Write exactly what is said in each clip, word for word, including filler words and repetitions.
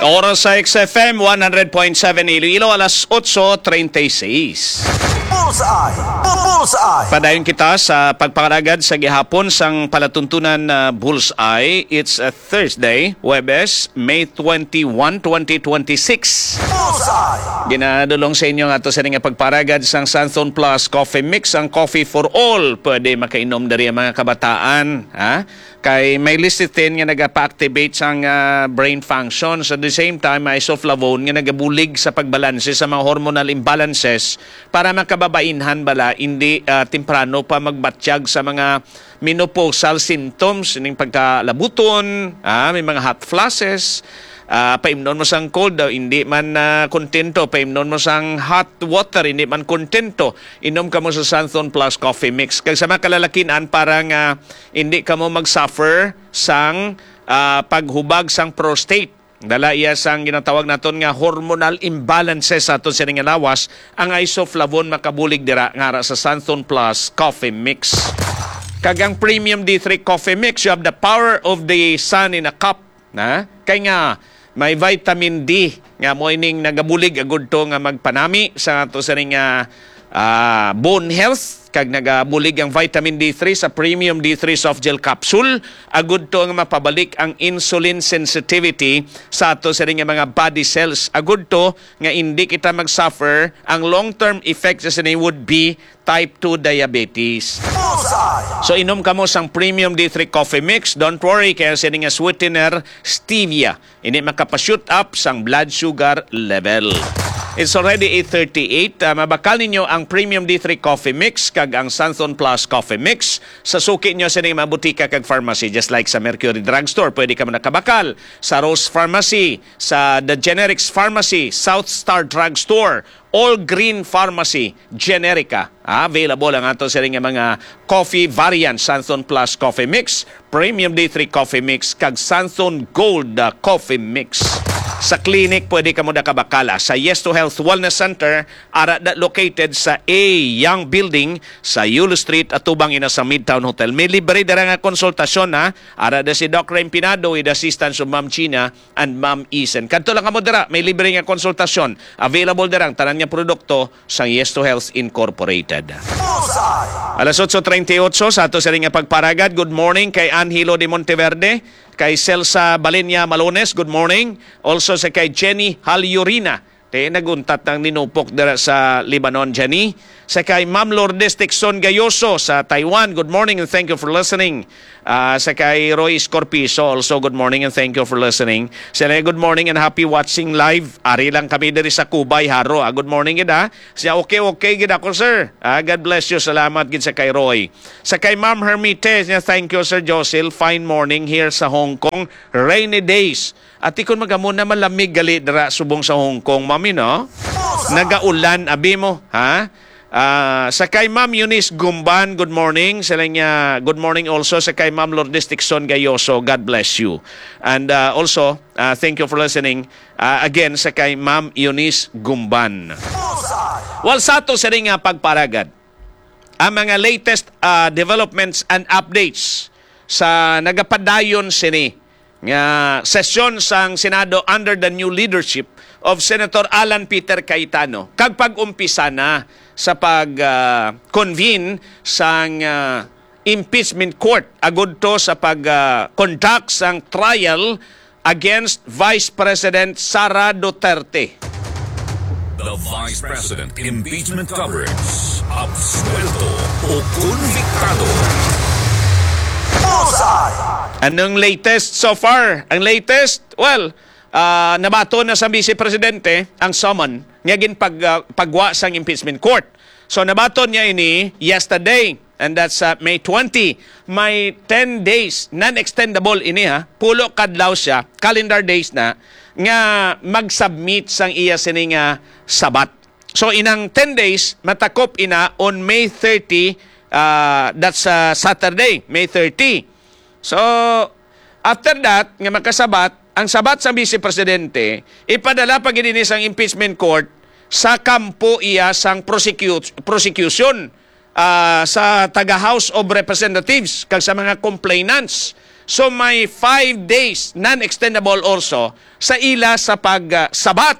Oras sa X F M one hundred point seven Iloilo, alas otso treinta y seis. Bullseye! Bullseye! Padayon kita sa pagpangalagad sa gihapon sang palatuntunan na Bullseye. It's a Thursday, Huwebes, May twenty-one, twenty twenty-six. Bullseye! Ginadulong sa inyo nga ato sa nga pagparagad sang Santhon Plus Coffee Mix, ang coffee for all. Pwede makainom diri ang mga kabataan, ha? Kay may lecithin nga nagapa-activate sang, ah, brain functions. At the same time, may isoflavone nga nagabulig sa pagbalanse sa mga hormonal imbalances para makababainhan bala, hindi, ah, temprano pa magbatyag sa mga menopausal symptoms, ning pagkalabuton, ah, may mga hot flashes, ah, paimnon mo sang cold, daw hindi man, ah, kontento, paimnon mo sang hot water, hindi man kontento, inom kamo sa Santhon Plus Coffee Mix. Kag sa mga kalalakin-an, para nga hindi kamo mag-suffer sang, ah, paghubag sang prostate. Dala iya sang ginatawag naton nga hormonal imbalances sa aton sini nga lawas, ang isoflavone makabulig dira nga ara sa Santhon Plus Coffee Mix. Kag ang Premium D three Coffee Mix, you have the power of the sun in a cup, na? Kay nga may vitamin D nga mo ining nagabulig agud to nga magpanami sa ato sini nga, ah, bone health, kag nagabulig ang vitamin D three sa Premium D three Soft Gel Capsule, agud to nga mapabalik ang insulin sensitivity sa ato sini nga mga body cells. Agud to nga hindi kita mag-suffer, ang long-term effect sa sini would be type two diabetes. Bullseye! So, inom kamo sang Premium D three Coffee Mix. Don't worry, kaya sini nga sweetener, stevia. Ini makapa-shoot up sang blood sugar level. It's already eight thirty-eight. Ah, mabakal ninyo ang Premium D three Coffee Mix kag ang Santhon Plus Coffee Mix sa suki nyo sa ining mga butika kag pharmacy, just like sa Mercury Drugstore. Pwede kamo nakabakal sa Rose Pharmacy, sa The Generics Pharmacy, South Star Drugstore, All Green Pharmacy, Generica. Ah, available ang ato sini nga mga coffee variants, Santhon Plus Coffee Mix, Premium D three Coffee Mix, kag Santhon Gold, ah, Coffee Mix. Sa clinic, pwede kamo nakabakal sa Yes to Health Wellness Center, ara da located sa A Young Building sa Yulo Street, atubang ina sa Midtown Hotel. May libre dira nga konsultasyon, ha. Ara da si Doc Rain Pinado with assistance of Ma'am Gina and Ma'am Isen. Kadto lang kamo dira, may libre nga konsultasyon. Available dira ang tanan nga produkto sang Yes to Health Incorporated. Bullseye! Alas otso treinta y ocho sa ato sini nga pagparagad. Good morning kay Angelo de Monteverde, kay Celsa Balenia Malones. Good morning. Also sa kay Jenny Halyurina. Te, naguntat ang ninupok dira sa Lebanon, Jenny. Sa kay Ma'am Lourdes Tixon Gayoso sa Taiwan. Good morning and thank you for listening. Ah, sa kay Roy Escorpizo also, good morning and thank you for listening. Sila, good morning and happy watching live. Ari lang kami diri sa Cubay, Jaro. Ah, good morning gid, ah. Siya, okay, okay gid ako, sir. Ah, God bless you. Salamat gid sa kay Roy. Sa kay Ma'am Hermite, niya, thank you, Sir Josil. Fine morning here sa Hong Kong. Rainy days. Ati, kun magamo na malamig gali dira subong sa Hong Kong, mami, no? Nagaulan, abi mo, ha? Ah, sa kay Ma'am Eunice Gumban, good morning. Sila niya, good morning also sa kay Ma'am Lourdes Tixon Gayoso. God bless you. And, ah, also, ah, thank you for listening. Ah, again, sa kay Ma'am Eunice Gumban. Well, sa ato sini nga pagparagad, ang mga latest, ah, developments and updates sa nagapadayon sini nga sesyon sang Senado under the new leadership of Senator Alan Peter Cayetano, kag pag-umpisa na sa pag, ah, convene sang, ah, impeachment court agud to sa pag, ah, conduct sang trial against Vice President Sara Duterte. The Vice President Impeachment Coverage. Absuelto o konbiktado? Bullseye! Anong latest so far? Ang latest, well, ah, nabaton na sa Vice Presidente ang summon nga ginpag-, ah, pagwa sang impeachment court. So, nabaton niya ini yesterday, and that's, ah, May twenty. May ten days, non-extendable ini, ha. Pulo kadlaw siya, calendar days na, nga mag-submit sang iya sini nga sabat. So, inang ten days, matakop ina on May thirty, ah, that's, ah, Saturday, May thirty. So, after that, nga makasabat, ang sabat sa Vice Presidente, ipadala pa gid ini sang impeachment court sa kampo iya sang prosecu-, prosecution, ah, sa taga House of Representatives kag sa mga complainants. So may five days, non-extendable also, sa ila sa pagsabat.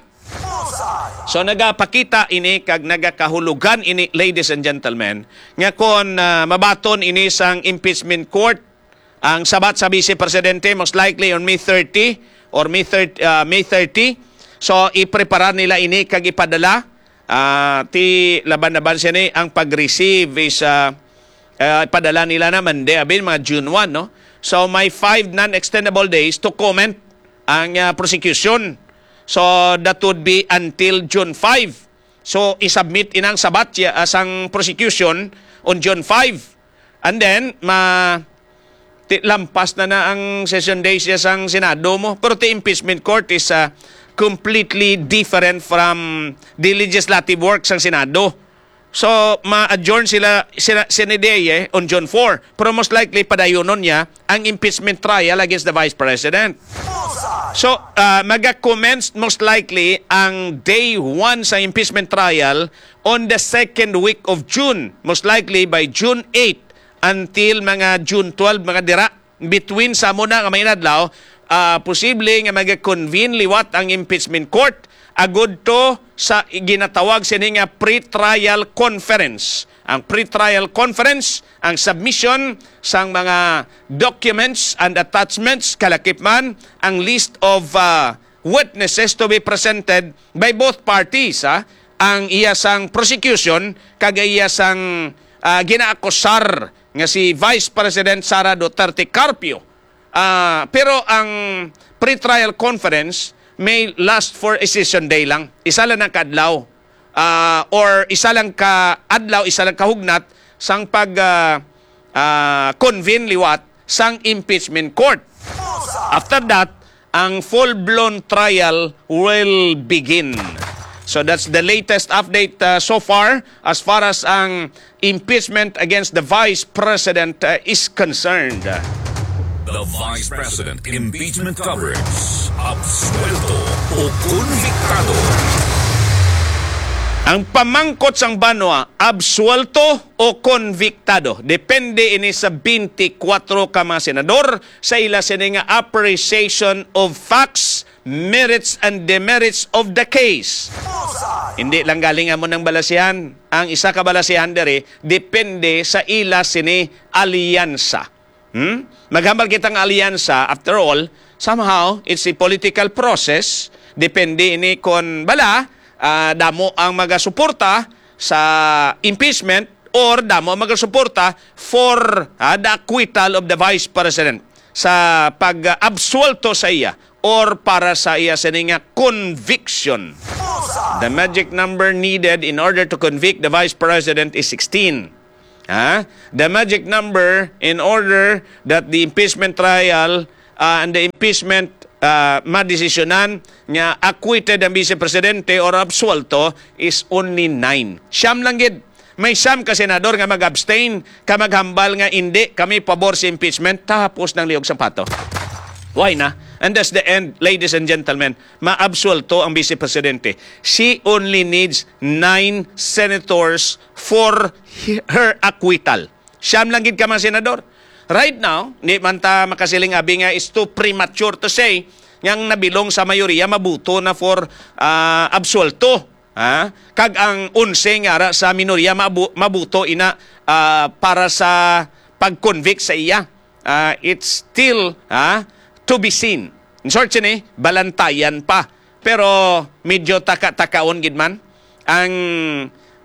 So nagapakita ini kag nagakahulugan ini, ladies and gentlemen, nga kon ah, mabaton ini sang impeachment court, ang sabat sa Vice Presidente most likely on May thirty or May thirty, ah, May thirty. So ipreparar nila ini kag ipadala, ah, ti laban-laban sini ang pag-receive is ah, ah, ipadala nila na Monday, abi, mga June one, no? So may five non-extendable days to comment ang ah, prosecution. So that would be until June five. So isubmit inang sabat ya, ah, sang prosecution on June five. And then ma ti, lampas na na ang session days ya sang Senado mo. Pero ti impeachment court is ah, completely different from the legislative work sang Senado. So ma-adjourn sila, sila sini day eh, on June four. Pero most likely padayunon niya ang impeachment trial against the Vice President. So ah, maga-commence most likely ang day one sa impeachment trial on the second week of June, most likely by June eight until mga June twelve, mga dira. Between sa muna nga may adlaw, ah, posible nga mag-convene liwat ang impeachment court agud to sa ginatawag sini nga pre-trial conference. Ang pre-trial conference, ang submission sang mga documents and attachments, kalakip man ang list of ah, witnesses to be presented by both parties, ha? Ang iya sang prosecution kag iya sang ah, ginaakusar nga si Vice President Sara Duterte Carpio. Ah, pero ang pre-trial conference may last for a session day lang. Isa lang ang kaadlaw. Ah, or isa lang ka adlaw, isa lang kahugnat sang pag ah, ah, convene liwat sang impeachment court. After that, ang full-blown trial will begin. So that's the latest update uh, so far as far as ang impeachment against the Vice President uh, is concerned. The Vice President Impeachment Coverage. Absuelto o konbiktado? Ang pamangkot sang banwa, absuelto o konbiktado? Depende ini sa twenty-four ka mga senador sa ila sini nga appreciation of facts, merits and demerits of the case. Hindi lang galing amo nang balasihan. Ang isa ka balasihan diri depende sa ila sini alyansa. Hmm? Maghambal kita nga alyansa, after all, somehow it's a political process. Depende ini kon bala ah, damo ang magasuporta sa impeachment or damo ang magasuporta for ah, the acquittal of the Vice President, sa pag-absuelto sa iya or para sa iya sini nga conviction. The magic number needed in order to convict the Vice President is sixteen. Ha? The magic number in order that the impeachment trial uh, and the impeachment uh, madesisyonan nga acquitted ang Vice Presidente or absuelto is only nine. Siyam lang gid. May siyam ka senador nga mag-abstain, ka maghambal nga indi kami pabor sa impeachment, tapos ng liog sampato. Why na? And that's the end, ladies and gentlemen. Maabsuelto ang Vice Presidente. She only needs nine senators for her acquittal. Siyam lang gid ka mga senador. Right now, di man ta makasiling abi nga it's too premature to say nga ang nabilong sa mayoriya mabuto na for ah, absuelto. Ha? Kag ang onse nga ara sa minorya mabu- mabuto ina ah, para sa pag-convict sa iya. Ah, it's still ha, to be seen. In short, sini, balantayan pa. Pero medyo taka-takaon gid man ang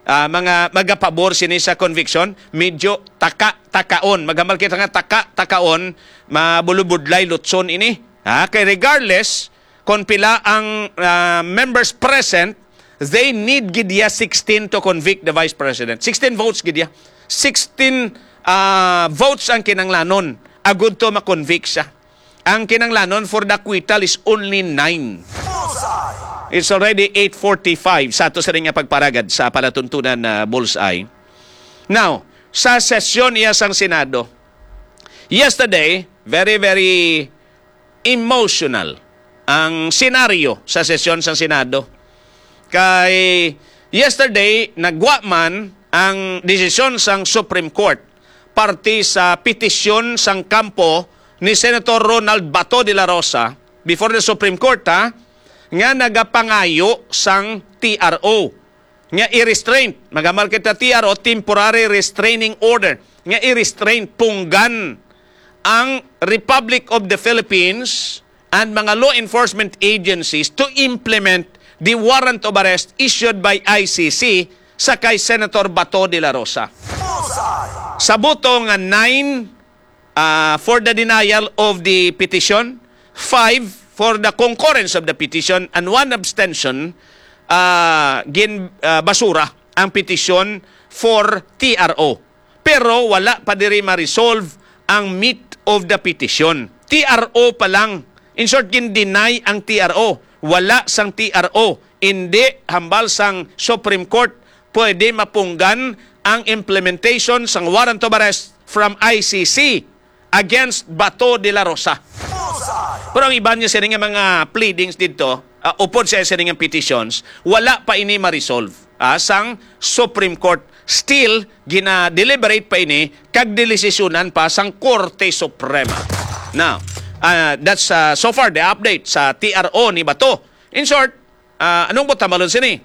ah, mga magapabor sini sa conviction, medyo taka-takaon. Maghambal kita nga taka-takaon, mabulubudlay lutson ini. Ha? Kay regardless kung pila ang ah, members present, they need gid ya sixteen to convict the Vice President. Sixteen votes gid ya. Sixteen ah, votes ang kinanglanon agud to ma-convict siya. Ang kinanglanon for the acquittal is only nine. It's already eight forty-five sa ato sa nga pagparagad sa palatuntunan na Bullseye. Now, sa sesyon iya sang Senado, yesterday, very, very emotional ang senaryo sa sesyon sang Senado. Kay yesterday, nagwa man ang desisyon sang Supreme Court parte sa petisyon sang kampo ni Senator Ronald Bato de la Rosa before the Supreme Court, ha, nga nagapangayo sang T R O nga i-restraint, magamar kita T R O, temporary restraining order, nga i-restraint, punggan ang Republic of the Philippines and mga law enforcement agencies to implement the warrant of arrest issued by I C C sa kay Senator Bato de la Rosa. Sa boto nga nine, ah, for the denial of the petition, five for the concurrence of the petition, and one abstention, ah, gin, ah, basura ang petition for T R O. Pero wala pa diri ma-resolve ang meat of the petition. T R O pa lang. In short, gin-deny ang T R O. Wala sang T R O. Indi, hambal sang Supreme Court, pwede mapunggan ang implementation sang warrant of arrest from I C C against Bato de la Rosa. Pero ang iban niya sini nga mga pleadings dito, ah, upod sa sini nga petitions, wala pa ini ma-resolve, ah, sang Supreme Court. Still, gina-deliberate pa ini kag dilisisyonan pa sang Korte Suprema. Now, ah, that's, ah, so far the update sa T R O ni Bato. In short, ah, anong buot hambalon sini?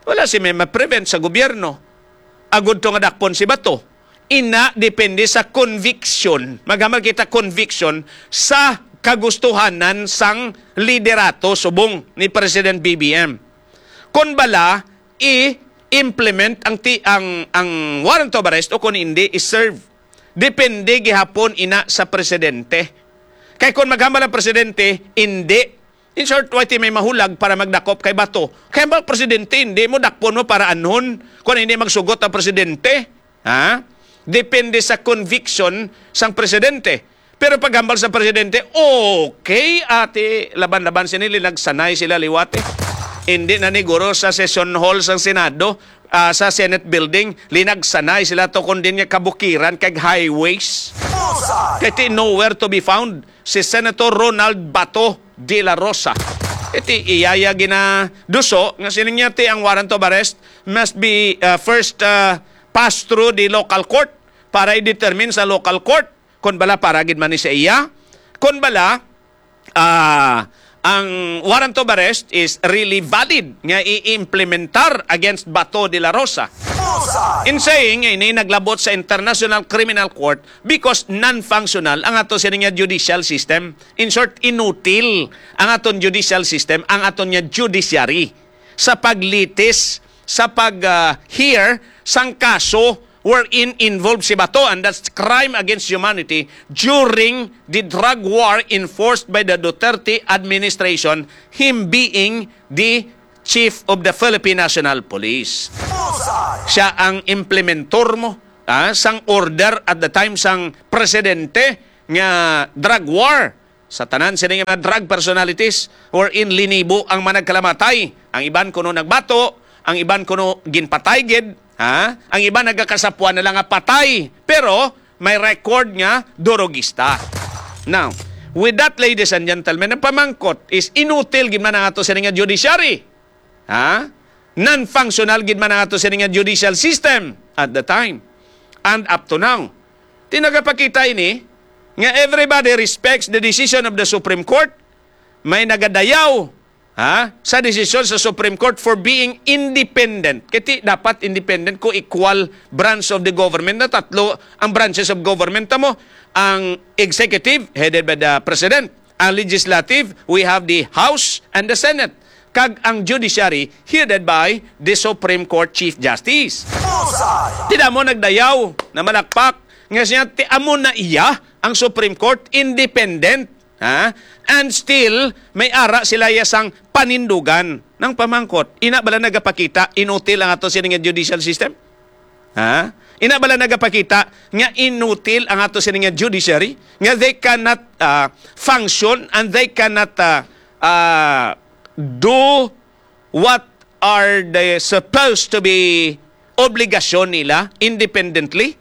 Wala si may ma-prevent sa gobyerno. Agud to nga dakpon si Bato. Ina, depende sa conviction. Maghamag kita conviction sa kagustuhanan sang liderato subong ni President B B M. Kon bala, i-implement ang ti-, ang, ang warrant of arrest o kon hindi, i-serve. Depende gihapon ina sa presidente. Kay kon maghambal ang presidente, hindi. In short, wa ti may mahulag para magdakop kay Bato. Kay ang presidente, hindi mo dakpon mo para anhon kung hindi magsugot ang presidente. Ha? Depende sa conviction sang presidente. Pero paghambal sa presidente, okay, ati, laban-laban sini, linagsanay sila liwat, eh. Hindi na ni guro sa session hall sang Senado, ah, sa Senate building, linagsanay sila to, kundi nga kabukiran kag highways. Kay ti nowhere to be found si Senator Ronald Bato de la Rosa. Iti iyaya ginaduso nga sining niya ti ang warrant of arrest must be, uh, first, uh, pass through the local court para i-determine sa local court kon bala para gid man ni sa iya, kon bala, ah, ang warrant of arrest is really valid nga i-implementar against Bato de la Rosa. In saying, ini naglabot sa International Criminal Court because non-functional ang ato sini nga judicial system. In short, inutil ang aton judicial system, ang aton nga judiciary sa paglitis, sa pag, ah, hear sang kaso wherein involved si Bato, and that's crime against humanity during the drug war enforced by the Duterte administration, him being the chief of the Philippine National Police. Siya ang implementor mo, ah, sang order at the time sang presidente nga drug war sa tanan sini nga mga drug personalities wherein linibo ang managkalamatay. Ang iban kuno nagbato, ang iban kuno ginpatay gid, ha? Ang iban nagakasapuan na lang nga patay, pero may record nga durogista. Now, with that, ladies and gentlemen, ang pamangkot is inutil gid man ang ato sini nga judiciary. Ha? Non-functional gid man ang ato sini nga judicial system at the time and up to now. Ti nagapakita ini nga everybody respects the decision of the Supreme Court. May nagadayaw, ha, sa desisyon sa Supreme Court for being independent. Kay ti dapat independent ko equal branch of the government na tatlo ang branches of government mo. Ang executive, headed by the president. Ang legislative, we have the House and the Senate. Kag ang judiciary, headed by the Supreme Court Chief Justice. Ti damo nagdayaw na malakpak nga siya, ti amo na iya ang Supreme Court, independent. Ha? And still, may ara sila iya sang panindugan ng pamangkot. Ina bala nagapakita, inutil ang ato sini nga judicial system? Ha? Ina bala nagapakita nga inutil ang ato sini nga judiciary? Nga they cannot, ah, function and they cannot, ah, ah, do what are they supposed to be obligasyon nila independently?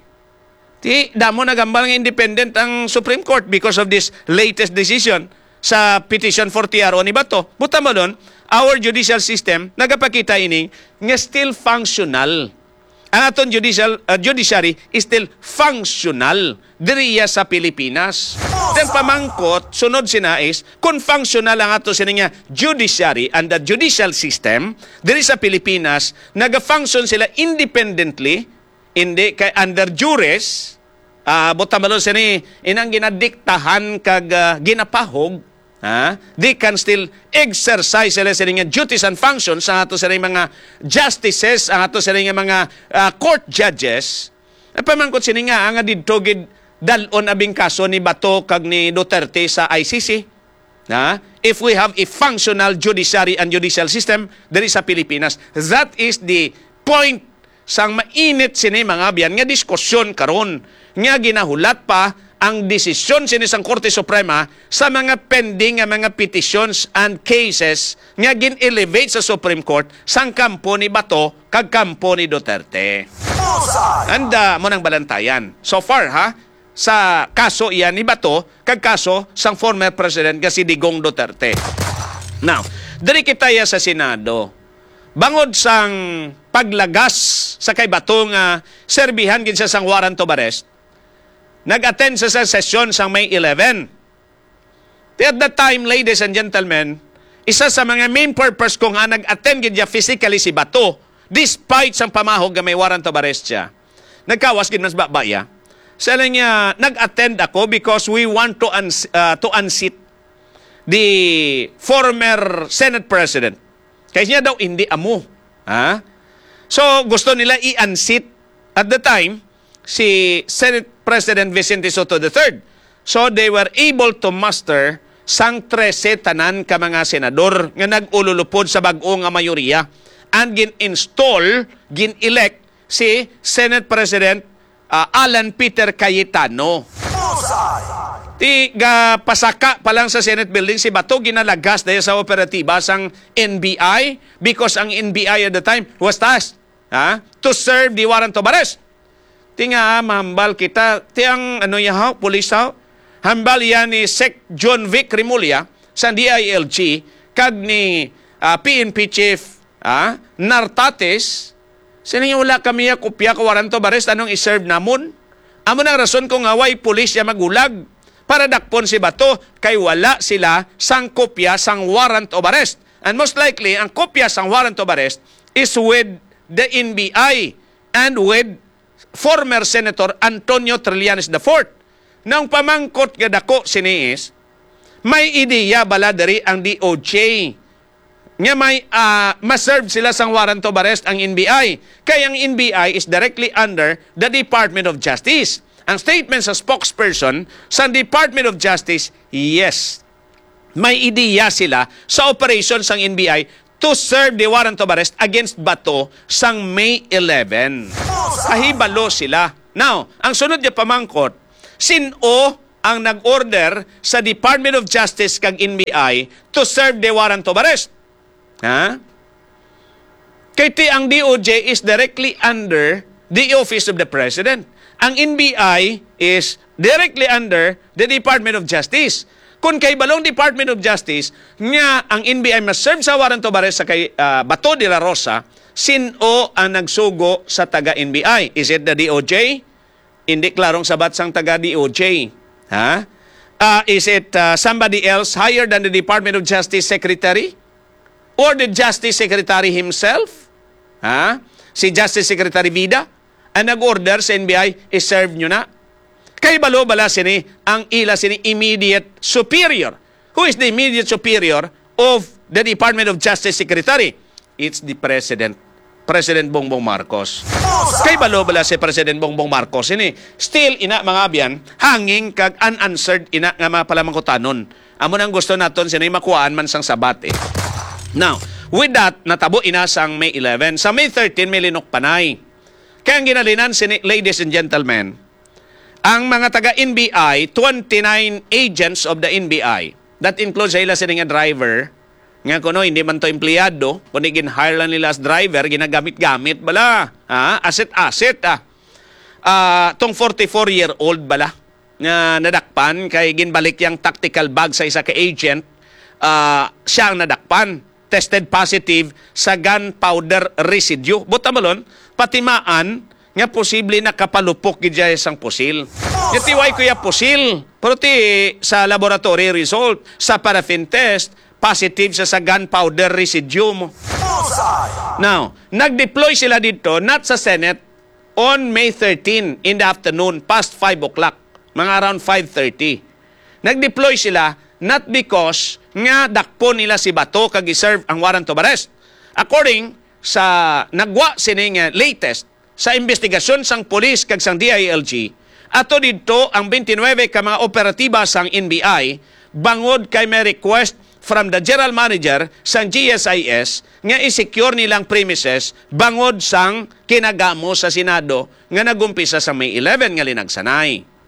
Ti, damo nagambal nga independent ang Supreme Court because of this latest decision sa petition for T R O ni Bato. Buta mo doon, our judicial system nagapakita ini nga still functional. ang aton judicial, uh, judiciary is still functional diri iya sa Pilipinas. Then pamangkot, sunod sina is, kung functional ang ato sini nga judiciary and the judicial system diri sa Pilipinas, naga-function sila independently, hindi kay under juris, ah, butang balon sini, inang ginadiktahan kag, ah, ginapahog, ha? They can still exercise sila sini nga duties and functions ang ato sini mga justices, ang ato sini nga mga, ah, court judges. Ang pamangkot sini nga, nga didto gid dalon abing kaso ni Bato kag ni Duterte sa I C C. Ha? If we have a functional judiciary and judicial system diri sa Pilipinas, that is the point sang mainit sini, mga abyan, nga diskusyon karon, nga ginahulat pa ang desisyon sini sang Korte Suprema sa mga pending nga mga petitions and cases nga gin-elevate sa Supreme Court sang kampo ni Bato kag kampo ni Duterte. Bullseye! And, ah, mo nang balantayan. So far, ha, sa kaso iya ni Bato kag kaso sang former president nga si Digong Duterte. Now, diri kita ya sa Senado. Bangod sang paglagas sa kay Bato nga serbihan gid siya sang warrant of arrest, nag-attend sa, sa sesyon sang May eleven. At that time, ladies and gentlemen, isa sa mga main purpose ko nga nag-attend gid siya physically si Bato, despite sang pamahog nga may warrant of arrest siya. Nagkawas gid mas baba iya. Sa niya, nag-attend ako because we want to uns-, ah, to unseat the former Senate President. Kay niya daw hindi amo. Ha? So, gusto nila i-unseat at the time si Senate President Vicente Sotto the third. So, they were able to muster sang trese tanan ka mga senador nga nag-ululupod sa bag-o nga mayoriya and gin-install, gin-elect si Senate President, ah, Alan Peter Cayetano. Bullseye! Ti, gapasaka pa lang sa Senate building si Bato, ginalagas dahil sa operatiba sang N B I because ang N B I at the time was tasked, ha, to serve the warrant of arrest. Ti nga, ah, mahambal kita, ti ang, ano, ya, haw, pulis, haw? Hambal yan ni Sec John Vic Remulla sa D I L G kag ni, ah, P N P Chief, ah, Nartates. Sila nga wala kami ya kopya ka warrant of arrest, anong i-serve namon? Amo nang rason ko nga way pulis ya magulag para dakpon si Bato kay wala sila sang kopya sang warrant of arrest. And most likely, ang kopya sang warrant of arrest is with the N B I and with former Senator Antonio Trillanes the fourth. Nang pamangkot nga dako sini is, may ideya bala diri ang D O J nga may, ah, ma-serve sila sang warrant of arrest ang N B I? Kay ang N B I is directly under the Department of Justice. Ang statement sa spokesperson sa Department of Justice, yes, may ideya sila sa operation sang N B I to serve the warrant of arrest against Bato sang May eleven. Kahibalo sila. Now, ang sunod nga pamangkot, sin-o ang nag-order sa Department of Justice kag N B I to serve the warrant of arrest? Ha? Kay ti ang D O J is directly under the Office of the President. Ang N B I is directly under the Department of Justice. Kung kay balong Department of Justice nga ang N B I ma-serve sa warrant of arrest sa kay, ah, Bato de la Rosa, sin-o ang nagsugo sa taga N B I? Is it the D O J? Hindi klarong sabat sang taga D O J. Ha? Ah, is it, ah, somebody else higher than the Department of Justice Secretary? Or the Justice Secretary himself? Ha? Si Justice Secretary Vida ang nag-order sa N B I, i-serve nyo na. Kay balo bala sini ang ila sini immediate superior? Who is the immediate superior of the Department of Justice Secretary? It's the President. President Bongbong Marcos. Kay balo bala si President Bongbong Marcos ini? Still, ina, mga abyan, hanging kag unanswered ina nga mga palamangkutanon. Amo nang gusto naton sini makuhaan man sang sabat, eh. Now, with that, natabo ina sang May eleven. Sa May thirteen, may linukpanay. Kaya ang ginalinan sini, ladies and gentlemen, ang mga taga N B I, twenty-nine agents of the N B I, that includes sa ila sini nga driver, nga kuno hindi man to empleyado, kundi gin-hire lang nila as driver, ginagamit-gamit bala. Ha? Asset-asset, ah. Ah, tong forty-four-year-old bala nga nadakpan kay ginbalik yang tactical bag sa isa ka agent, ah, siya ang nadakpan. tested positive sa gunpowder residue. Buot silingon, patimaan nga posible nakapalupok gid siya sang pusil. Yati, why kuya pusil? Pero ti sa laboratory result, sa paraffin test, positive siya sa gunpowder residue mo. Now, nag-deploy sila dito, not sa Senate, on May thirteen in the afternoon, past five o'clock, mga around five thirty. Nag-deploy sila not because nga dakpon nila si Bato kag i-serve ang warrant of arrest. According sa nagwa sini nga latest sa investigasyon sang pulis kag sang D I L G, ato didto ang twenty-nine ka mga operatiba sang N B I bangod kay may request from the general manager sang G S I S nga i-secure nilang premises bangod sang kinagamo sa Senado nga nag-umpisa sa May eleven nga linagsanay.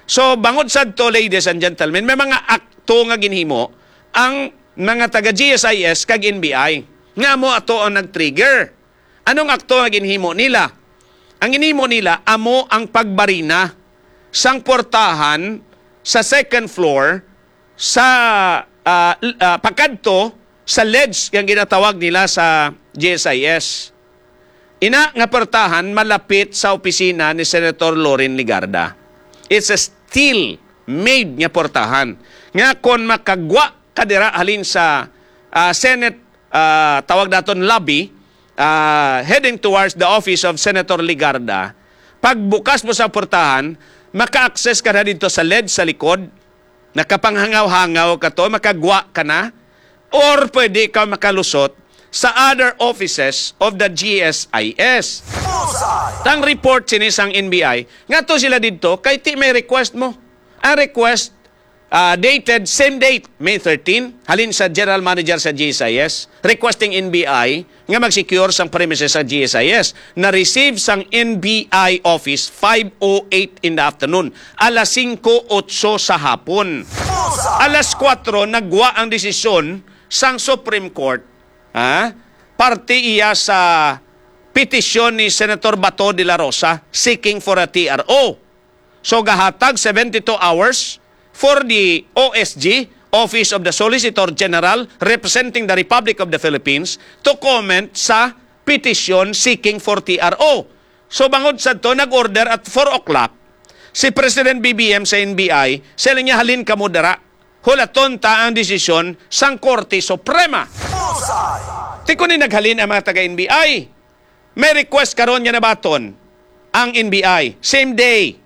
So, bangod sadto, ladies and gentlemen, may mga akto nga ginhimo ang mga taga G S I S kag N B I nga amo ato ang nag-trigger. Anong akto nga ginhimo nila? Ang ginhimo nila amo ang pagbarina sang portahan sa second floor sa, ah, l-, ah, pakadto sa ledge nga ginatawag nila sa G S I S. Ina nga portahan malapit sa opisina ni Senator Loren Legarda. It's a steel made nga portahan nga kon makagwa ka dira halin sa, ah, Senate, ah, tawag naton lobby, ah, heading towards the office of Senator Legarda, pagbukas mo sa portahan, maka-access ka na dito sa ledge sa likod, nakapanghangaw-hangaw ka to, makagwa ka na, or pwede ka makalusot sa other offices of the G S I S. Tang report sini sang N B I, nga to sila didto, kay ti may request mo. Ang request, ah, dated same date, May thirteen, halin sa general manager sa G S I S, requesting N B I nga mag-secure sang premises sa G S I S. Na-receive sang N B I office five oh eight in the afternoon, alas singko otso sa hapon. Alas kuwatro, nagwa ang desisyon sang Supreme Court, ha? Parte iya sa petisyon ni Senator Bato de la Rosa seeking for a T R O. So, gahatag seventy-two hours for the O S G, Office of the Solicitor General, representing the Republic of the Philippines, to comment sa petition seeking for T R O. So, bangod sa to, nag-order at four o'clock si President B B M sa N B I, sa niya, "Halin kamo dira. Hulaton ta ang desisyon sang Korte Suprema." Ti kuno naghalin ang mga taga N B I. May request karon nga nabaton ang N B I. Same day,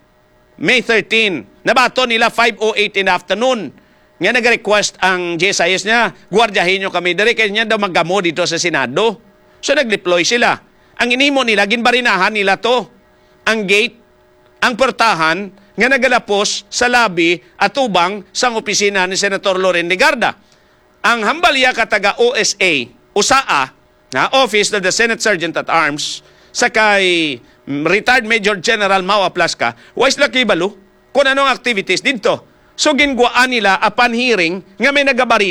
May thirteen. Nabaton nila five oh eight in the afternoon. Nga nag-request ang G S I S niya, "Guardiyahin nyo kami diri kay niya daw magamo dito sa Senado." So nag-deploy sila. Ang inimo nila, ginbarinahan nila to. Ang gate, ang portahan nga nagalapos sa lobby atubang sang opisina ni Senator Loren Legarda. Ang hambal iya ka taga O S A, usaa, nga Office of the Senate Sergeant at Arms, sa kay, mm, retired Major General Mao Aplasca, wa sila kibalo kung ano ang activities didto. So, ginguwaan nila apan hearing nga may nagabarina